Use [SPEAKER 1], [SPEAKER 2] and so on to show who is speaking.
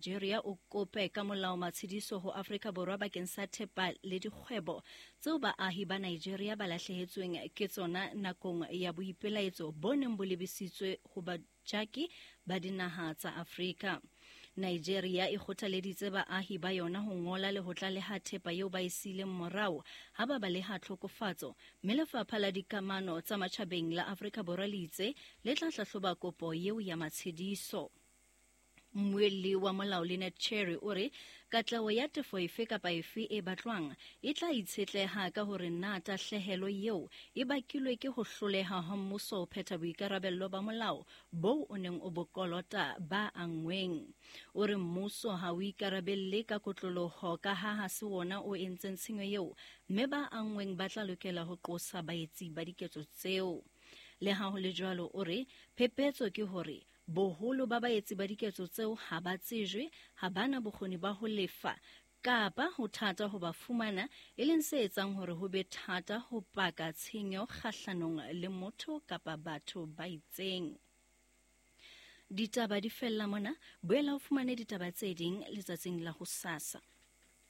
[SPEAKER 1] Nigeria o kope ka molao matshediso ho Afrika Borwa bakeng sa thepa le dikgwebo tseo baahi ba Nigeria ba lahlehetsweng ke tsona nakong ya boipelaetso bo neng bo lebisitswe ho bajaki ba dinaha tsa Afrika. Nigeria e kgothaleditse baahi ba yona ho ngola le ho tlaleha thepa eo ba e siileng morao ha ba baleha tlhokofatso, mme Lefapha la Dikamano tsa Matjhabeng la Afrika Borwa le itse le tla hlahloba kopo eo ya matshediso. Mmuelli wa molao Lynette Cherry o re katleho ya tefo efe kapa efe e batlwang e tla itshetleha ka hore na tahlehelo eo e bakilwe ke ho hloleha ha mmuso ho phetha boikarabello ba molao boo o neng o bo kolota ba anngweng. O re mmuso ha o ikarabelle ka kotloloho ka ha ha se wona o entseng tshenyo eo, mme ba anngweng ba tla lokela ho qosa baetsi ba diketso tseo. Le ha ho le jwalo, o re phephetso ke hore Boholo ba baetsi ba diketso tseo ha ba tsejwe, ha ba na bokgoni ba ho lefa, kapa ho thata ho ba fumana, e leng se etsang hore ho be thata ho paka tshenyo kgahlanong le motho kapa batho ba itseng. Ditaba di fella mona, boela o fumane ditaba tse ding letsatsing la hosasa.